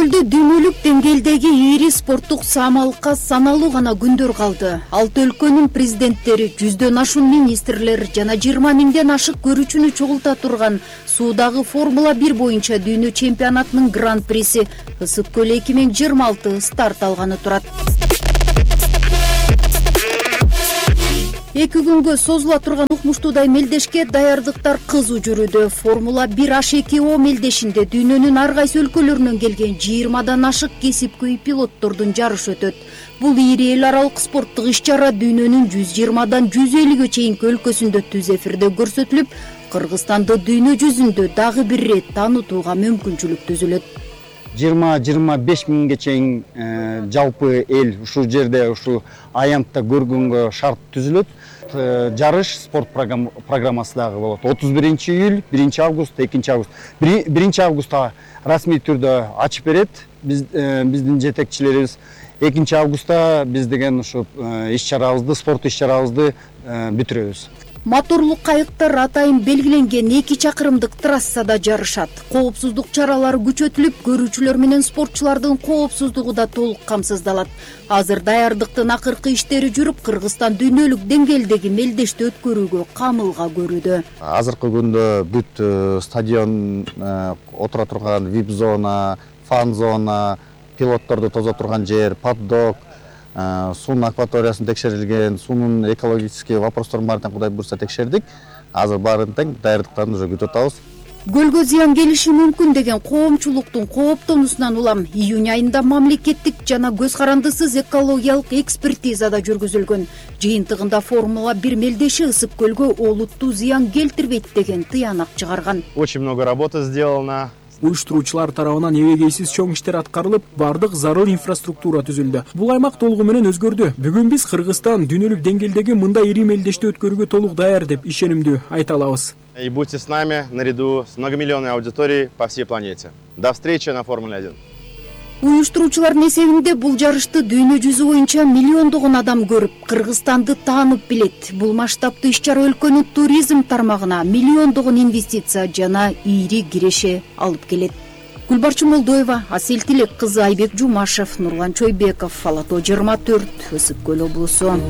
көлдө дүйнөлүк деңгээлдеги ири спорттук самалыкка саналуу гана күндөр калды. 6 өлкөнүн президенттери, 100дөн ашуун министрлер жана 20 миңден ашык көрүүчүнү чогулта турган суудагы Формула 1 боюнча дүйнө чемпионатынын гран-приси Ысык көл 2026 старт алганы турат. 2 күнгө созула турган укмуштуудай мелдешке даярдыктар кызуу жүрүүдө. Формула 1 H2O мелдешинде дүйнөнүн ар кайсы өлкөлөрүнөн келген 20дан ашык кесипкөй пилоттордун жарышы өтөт. Бул ири эл аралык спорттук иш-чара дүйнөнүн 120дан 150ге чейинки өлкөсүндө түз эфирде көрсөтүлүп, Кыргызстанды дүйнө жүзүндө дагы бир ирет таанытууга мүмкүнчүлүк түзүлөт. 20-25 миңге чейин жалпы эл ушул жерде ушу аянтта көргөнгө шарт түзүлөт. Жарыш спорт программасы дагы болот. 31 июль, 1 август, 2 август. 1 августта расмий түрдө ачып берет биздин жетекчилерибиз. 2 августта биз деген ушу иш-чарабызды, спорт иш-чарабызды бүтүрөбүз. Моторлук кайыктар атайын белгиленген 2 чакырымдык трассада жарышат. Коопсуздук чаралары күчөтүлүп, көрүүчүлөр менен спортчулардын коопсуздугу да толук камсыздалат. Азыр даярдыктын акыркы иштери жүрүп, Кыргызстан дүйнөлүк деңгээлдеги мелдешти өткөрүүгө камылга көрүүдө. Азыркы күндө бүт стадион, отура турган VIP зона, фан зона, пилотторду тозо турган жер, паддок, суунун акваториясын текшерилген, суунун экологический вопросторун баарын Кудай буйрса текшердик. Азыр баарын тең даярдыктарын уже күтүп атабыз. Көлгө зыян келиши мүмкүн деген коомчулуктун кооптонуусунан улам июнь айында мамлекеттик жана көз карандысыз экологиялык экспертиза да жүргүзүлгөн. Жыйынтыгында Формула 1 мелдеши Ысык көлгө олуттуу зыян келтирбейт деген тыянак чыгарган. Очень много работы сделано. Уюштуруучулар тарабынан эбегейсиз чоң иштер аткарылып, бардык зарыл инфраструктура түзүлдү. Бул аймак толугу менен өзгөрдү. Бүгүн биз Кыргызстан дүйнөлүк деңгээлдеги мындай ири мелдешти өткөрүүгө толук даяр деп ишенимдүү айта алабыз. И будьте с нами наряду с многомиллионной аудиторией по всей планете. До встречи на Формуле 1. Уюштуруучулардын эсебинде бул жарышты дүйнө жүзү боюнча миллиондогон адам көрүп, Кыргызстанды таанып билет. Бул масштабтуу иш-чара өлкөнүн туризм тармагына миллиондогон инвестиция жана ири киреше алып келет. Гүлбарчын Молдоева, Асель Тилек кызы, Айбек Жумашев, Нурлан Чойбеков, Ала Тоо 24, Ысык көл облусу.